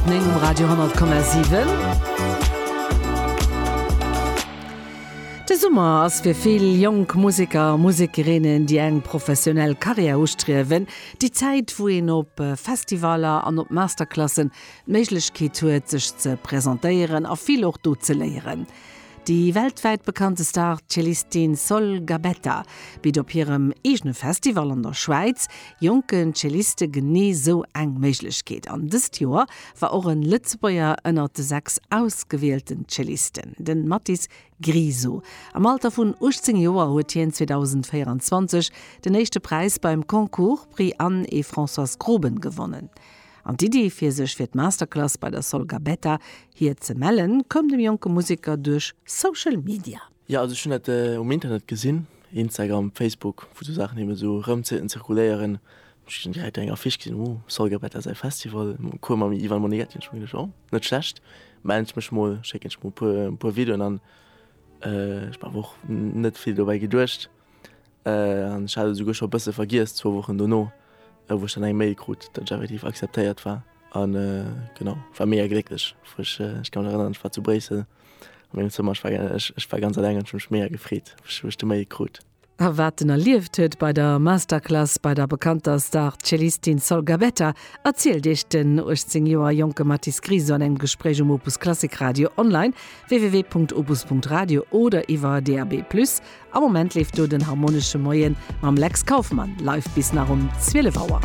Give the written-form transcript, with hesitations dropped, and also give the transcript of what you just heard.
9 um Radio 10,7. De Summer ass fir vill jonk Museker a Musekerinnen, déi eng professionell Karriär ustriewen, déi Zäit, wou een op Festivaller an op Masterclassen d'Méiglechkeet huet, sech ze presentéieren a vill och do ze léieren. Déi weltwäit bekannte Star-Cellistin Sol Gabetta bitt op hirem eegene Festival an der Schwäiz jonken Celliste genee sou eng Méiglechkeet. An dëst Joer war och en Lëtzebuerger ënnert de 6 ausgewielten Cellisten, den Mathis Griso. Am Alter vun 18 Joer huet hien 2024 den éischte Präis beim Concours Prix Anne et Françoise Groben gewonnen. An d'Iddi, fir sech fir d'Masterclass bei der Sol Gabetta hir ze mellen, koum dem jonke Museker duerch Social Media. Jo, also ech hunn dat um Internet gesinn, Instagram, Facebook, wou sou Saachen eben esou rëm zirkuléieren. Ech hunn direkt eng Affiche gesinn, oh, Sol Gabetta säi Festival, Cours mam Ivan Monighetti. Hunn ech mer geduecht, oh, net schlecht, mellen ech mech mol, schécken ech mol e puer Videoen an. Ech hu mer awer och net vill dobäi geduecht. An ech hat et esouguer scho e bësse vergiess, zwou Wochen dono, wou ech dann eng Mail krut, datt ech effektiv akzeptéiert war. An genau, ech war mega glécklech, wou ech, ech ka mech erënneren, ech war zu Bréissel a mengem Zëmmer, ech war, ech war ganz eleng an ech hu mech mega gefreet, wou ech de Mail krut. A wat en erlieft huet bei der Masterclass bei der bekannter Star-Cellistin Sol Gabetta, erzielt iech den 18 Joer jonke Mathis Griso an engem Gespréich um Opus Klassik Radio online, www.opus.radio oder iwwer DAB+. Am Moment leeft do den Harmonesche Moien mam Lex Kauffmann live bis nach um 12 Auer.